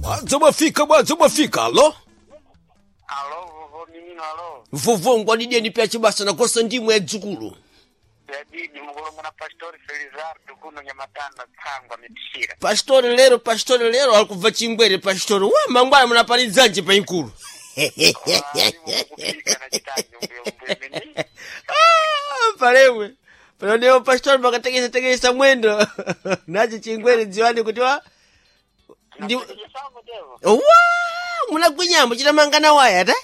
Bwadza mwafika, bwadza mwafika, alo? Alo, vovo minino alo. Vovo ngwadideni pya chibasa nakosa ndimwe ya dzukulu. Yadidi mukulongo na Pastori Felizardo kuno Nyamatanda Tsangwa mitishira. Pastori lero, pastori lero alikubva chingwere pastori. Wa mangwana munapalidzanje pa inkulu. Kupika na chitanjo mbuyo mbuyo mini. Ah, palewe. Panonewo pastori makatekesa tekesa mwendo. Nacho chingwere dziwani kuti wa ndi Napekesango tevo. wa munagwinyambo chitamangana waya ta?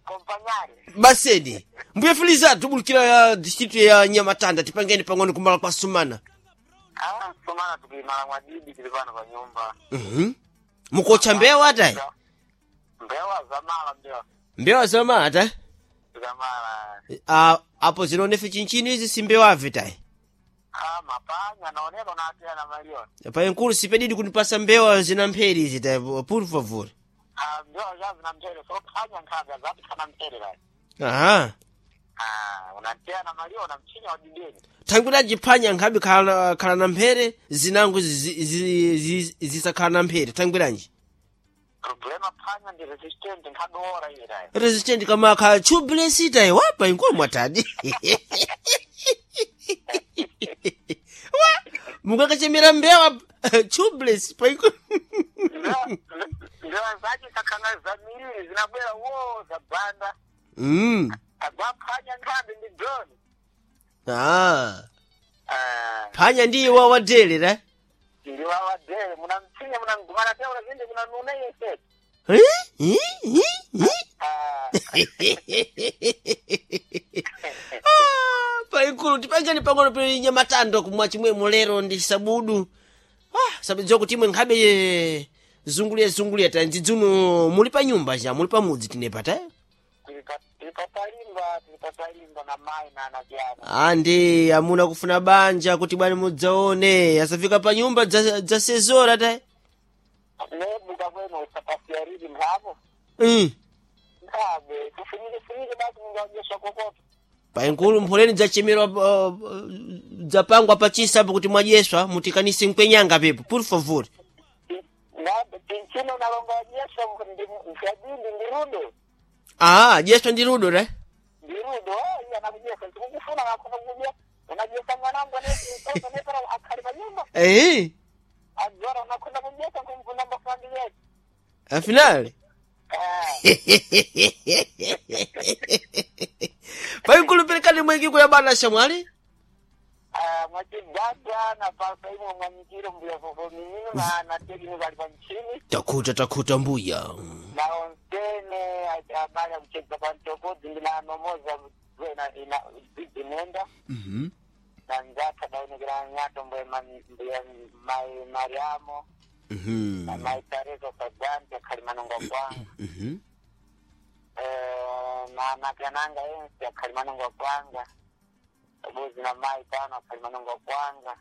Kompanyari. Basedi. Mbuye Felizardo tubulukira ya district ya Nyamatanda tipangeni pang'ono kumala kwa Sumana. Ah, sumana tukimala mwadidi tili pano pa nyumba. Mhm. Mukocha mbewa ata? Mbewa zamala mbewa. Mbewa zamala ata? Zamala. Ah, apo zinonefe chinchini izi si mbewa tayi. Ah, mapanya naoneka unatia na malioni. Pa nkulu sipedidi kunipasa mbewa zina mpheri izi tayi, por favor. Ah, mbewa zazi na mchere. So panya nkhaga zapi kana mchere lai. Aha. Ah, unatia na malioni mchinya wadideni. Tangu jiphanya nkhabe khala khala na mphere zinango zisakhala na mphere tangwiranji. Problema phanya ndi resistant nkhabe ora ile lai. Resistant kama khala tubeless tayi wapa inkulu mwatadi. Wa mukakachemera mbewa tubeless pa inkulu. Mbewa zache sakhanga zamiriri zinabwera wo zabanda. Agwaphanya nkhabe ndi drone. Ah. Ah, Phanya ndiye wawadele ra. ndi wawadele munamchinya munamgumana teura zinde munanuna yese. Eh? Eh? Eh? Eh? Ah, Ah, paikulu tipangeni pang'ono pili nyamatando kumwa chimwemo lero ndi sabudu. Ah, sabidziwa kuti imwe nkhabe zunguliya zunguliya tanzidzuno muli pa nyumba cha muli pa mudzi tinepa ta. tili patalimba tili patalimba na mai na anavyana. Andi amuna kufuna banja kuti bwani mudzaone asafika pa nyumba dza, dza sezora ta. Nebuka kwenu usapasiariri nkhapo. Nkhabe kufunyike funyike basi mungadyeswa kokoto. Paikulu mpholeni dzachemerwa dzapangwa pachisa apo kuti mwadyeswa mutikanise mkwenyanga pepo por favor. Ngabe tinchino nalonga wadyeswa ndi mfyadindi ndi rudo. Ah, dyeswa ndi rudo ra. Ndi rudo oh iye anakudyesa tikukufuna akhoza kudya. Unadyesa mwanangu anesi nepera akhali pa nyumba. Eh, Adzora unakhoza kudyesa kumvuna mbafandi yetu. afinale. Ah. Paikulu perekani mwengi kuya bana shamwali. Ah, mwachigada na pasa imwe mwanyikiro mbuya vovo minino na na tekini vali pa mchini Takhuta takhuta mbuya. na onsene amali akuchedza pa mtopodzi ndi na anomoza ena ina dzinenda na nzatha daonekera nyato mbuya mbuya mai Mariamo na mai Teresa Sagante akhali manongo kwanga eh na nakananga ensi akhali manongo kwanga abuzi na mai tano akhali manongo kwanga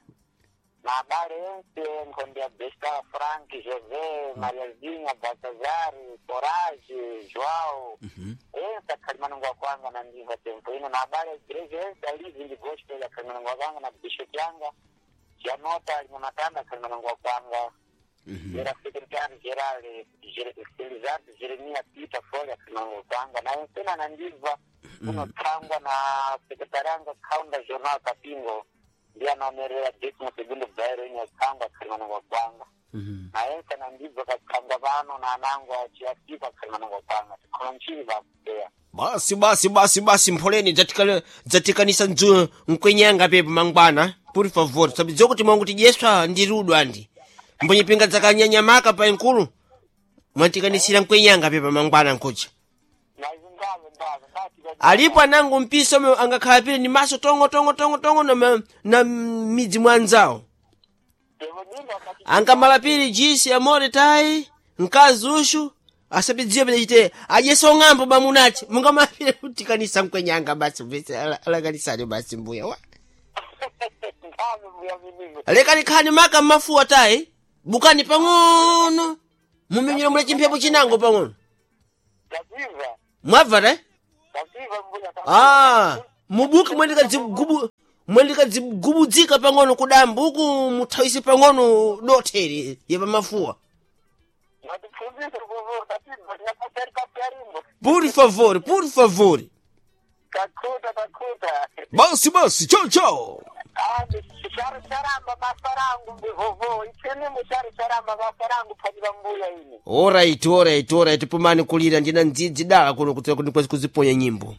na abale ense nkhonde ya Besta Frank José Mariazinha Baltazar Corage Joao ense akhali manongo kwanga na ndiva tempo ino na abale ya igreja ense alivi ndi gospel akhali manongo kwanga na bishop yanga Janota alinyamatanda akhali manongo kwanga era secretary geral Felizardo Jeremia Peter Folha akhali manongo kwanga na ensena na ndiva kunotsangwa na sekretari anga kaunda jornal Kapingo ndiye anaonerera décimo segundo bairo ine yatsangwa akhali manongo kwanga na ense na ndibva katsangwa pano na anango achiafika akhali manongo kwanga tikhola mchini vakuteya Basi basi basi basi mpholeni dzatikanisa ndzu mkwenyanga pepo mangwana. Por favor, sabidziwa kuti mwangu tidyeswa ndi rudo andi. Mbonyepinga dzakanyanyamaka pa inkulu. Mwatikanisira mkwenyanga pepo mangwana nkucha. na izi ndave ndave ndati Alipo anango mpiso omwe angakhala pile ni maso tongo tongo tongo tongo na, na midzi mwa anzawo. Ankamala pili jisi amore tayi mkazi ushu asapidziwe pene chite adyesa ong'ambo bamunachi mungamala pile kutikanisa mkwenyanga basi mvese alakanisani basi mbuya wa ndave mbuya minino lekani khani maka mmafuwa tayi bukani pang'ono mumenyera mule chimphepo chinango pang'ono tapiva mwabva tayi tapiva mbuya ah mubuke mwendikadzigubu mwendikadzigubudzika pang'ono kudambu uku muthawise pang'ono dotheri yepamafuwa. Por favor, por favor. Takuta, takuta. Basi basi, chao chao. Charamba basa rangu ndivovo ichini muchari charamba basa rangu panyika mbuya ini. Alright, alright, alright. Pumani kulira ndina ndzidzi dala kuno kuti kuti kuziponya nyimbo.